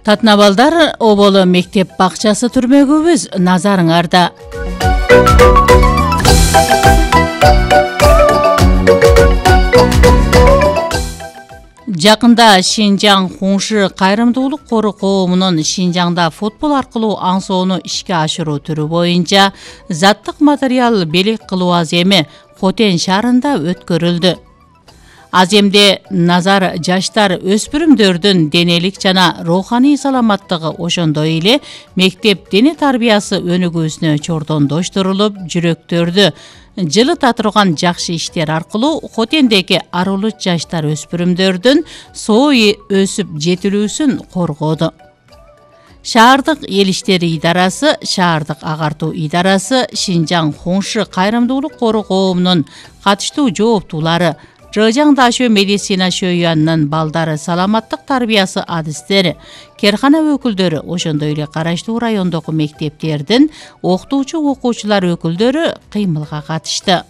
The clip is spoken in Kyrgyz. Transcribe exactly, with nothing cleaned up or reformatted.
Татнабалдар оболо мектеп бакчасы түрмөгүбүз назарыңарда. Жакында Шинжаң Хуншы кайрымдуулук кору коомунун Шинжаңда футбол аркылуу аңсоону ишке ашыруу түрү боюнча заттык материал белек кылуу аземи Хотен шаарында өткөрүлдү. Аземде назар жаштар өспүрүмдөрдүн денелик жана руханий саламаттыгы ошондой эле мектеп дене тарбиясы өнүгүүсүнө чордондоштурулуп, жүрөктөрдү жылыта турган жакшы иштер аркылуу Хотендеги арылуу жаштар өспүрүмдөрдүн соо өсүп жетилүүсүн коргоду. Шаардык эл иштери идарасы, шаардык агартуу идарасы, Шинжаң Хуншы кайрымдуулук кору коомунун катыштуу жооптуулары, Жыжаң Дашөө медицина шөйүанынын балдары саламаттык тарбиясы адистери, керкана өкүлдөрү, ошондой эле караштуу райондогу мектептердин окутуучу окуучулар өкүлдөрү кыймылга катышты.